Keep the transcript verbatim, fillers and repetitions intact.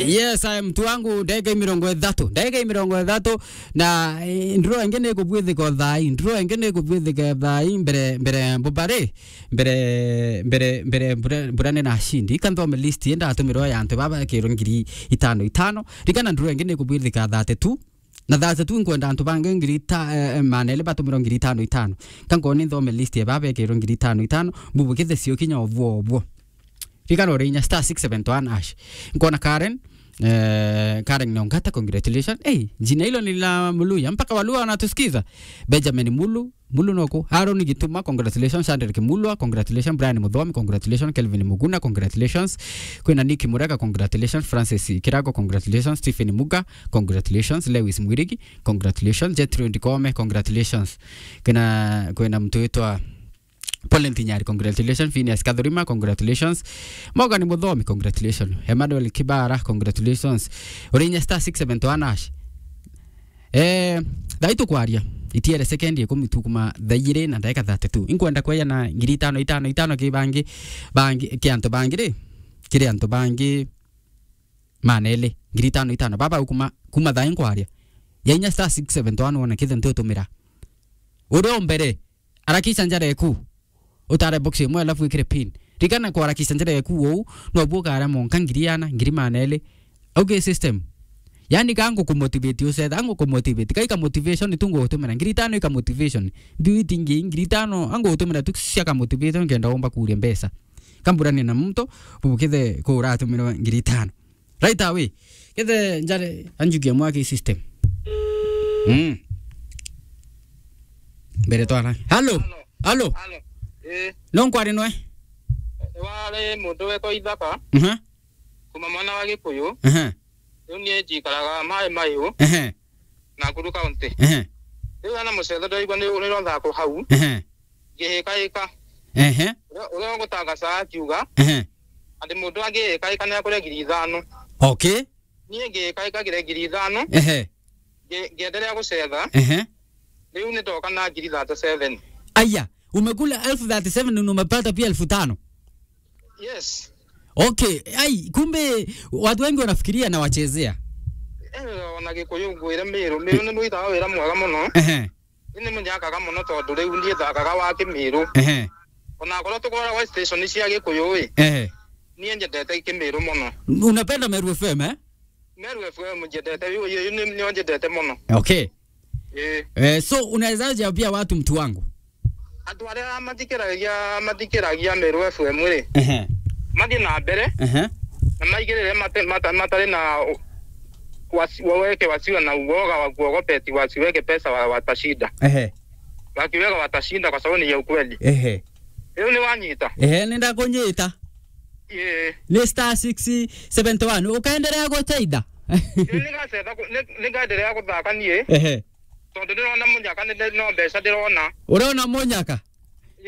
Yes, I am mtu wangu, ndagika mirongo ithatu. Ndagika mirongo ithatu, na, eh, ndro ingi ni kubwithika thaa ii. Ndro ingi ni kubwithika thaa ii mbere, mbere mbubari, mbere, mbere, mbere mbura, mbura ni na cindi. Ka nthome list ii ndatumirwa ya antu baba ekirwe ngiri itano itano. Rikana ndro ingi ni kubwithika thirty-two. Na thirty-two nkwenda antu bangi ngiri ta, eh, eh, maana eri batumirwa ngiri itano itano. Ka nkoni nthome list ya baba ekirwe ngiri itano itano, mbubukithe cio kinya obwo obwo. Rikana uri inya star six seven one hash. Nkona Karen, eh, Karen Nongata, congratulations. Hey, jina hilo ni la Muluya. Mpaka Waluya wanatusikiza. Benjamin Mulu, Mulu noko. Aaron Gituma, congratulations. Chandrick Mulwa, congratulations. Brian Muthomi, congratulations. Kelvin Muguna, congratulations. Kwina Nick Murega, congratulations. Francis Kirago, congratulations. Stephen Muga, congratulations. Lewis Mwirigi, congratulations. Jethro Ndikome, congratulations. Kwina, kwina mtu witwa Paulin Tinyari, congratulations. Phineas Kathurima, congratulations. Morgan Muthomi, congratulations. Emmanuel Kibara, congratulations. Uri inya star six seven one hash. Eh, thaa ii tukwaria, itiere sekendi ikumi tu kuma thaa igiri na ndagika thirty-two. Inkwenda kweja na ngiri itano itano itano ki bangi, bangi, ki antu bangi ri, kiri antu bangi maana eri, ngiri itano itano. Baba, kuma, kuma thaa ii nkwaria, ya inya star six seven one one kithe ntutumira. Uria o mbere, arakisha njara eku. Utare box imwe alafu wikire pin. Rikana kwarakisha njara eku uu, no bu ukare monka ngiri ana, ngiri maana eri. Okay, system. Yani ka ngukumotivate ucetha, ngukumotivate. Ka ika motivation tu ngugutumira. Ngiri itano ika motivation. Mbiu itingi, ngiri itano, ngugutumira tu cia ka motivation nkenda umba kuria mbeca. Kamburania na muntu, bubukithe kura atumirwe ngiri itano. Right away. Kethe njare anjukia mwaki system. Mm. Mbere twara. Hello. Hello. Hello. Hello. Eh. No nkwari nwe? Wari muntu wetwa Ithaka. Mhm. Kuma mwana wa Gikuyu. Mhm. Riu nie njikaraga Mai Maiu. Ehe. Nakuru County. Ehe. Riu ana mucetho ndaigua ni, ni rotha ku hau. Ehe. Ngihikaika. Ehe. Uria, uria ugutagaca akiuga, ehe, ati mundu angihikaika ni akuria ngiri ithano. Okay. Nie ngihikaika ngire ngiri ithano. Ehe. Ngi-, ngiendelea gucetha. Ehe. Riu ni ndoka na ngiri thirty-seven. Aya, umekula elfu thirty-seven na umepata pia elfu tano. Yes. Okay, ai, kumbe watu wengi wanafikiria na wachezea. Eh, ona Gikuyu ngwire Miru, Miru ni mwitaga wira mwega muno. Ehe. Ni munyakaga muno tondu riu ndithakaga wa Kimiru. Ehe. Ona korwo tukoragwa station cia Gikuyu ri, ehe, nie njendete Kimiru muno. Unapenda Meru F M, eh? Meru F M njendete, yu, yu, yu ni, nio njendete muno. Okay. Eh. Eh, so unawezaje ambia watu, mtu wangu? Antu aria mathikiragia, mathikiragia Meru F M ri, ehe, mathie na mbere, ehe, na maigirire mate-, mata-, matari na u-, wasi-, waweke wasiwe na uoga wa kuogopa eti wasiweke pesa wa-, watashinda. Ehe. Wakiweka watashinda kwa sababu ni ya ukweli. Ehe. Riu ni wanyita? Ehe, ni ndakunyita. Ii. Ni star six seventy one. Ukaendelea guteitha? Ii, ni ngacetha ku-, ni, ni ngaendelea guthaka nie. Ehe. Tondu ndirona munyaka, ni, ni, no mbeca ndirona. Urona munyaka?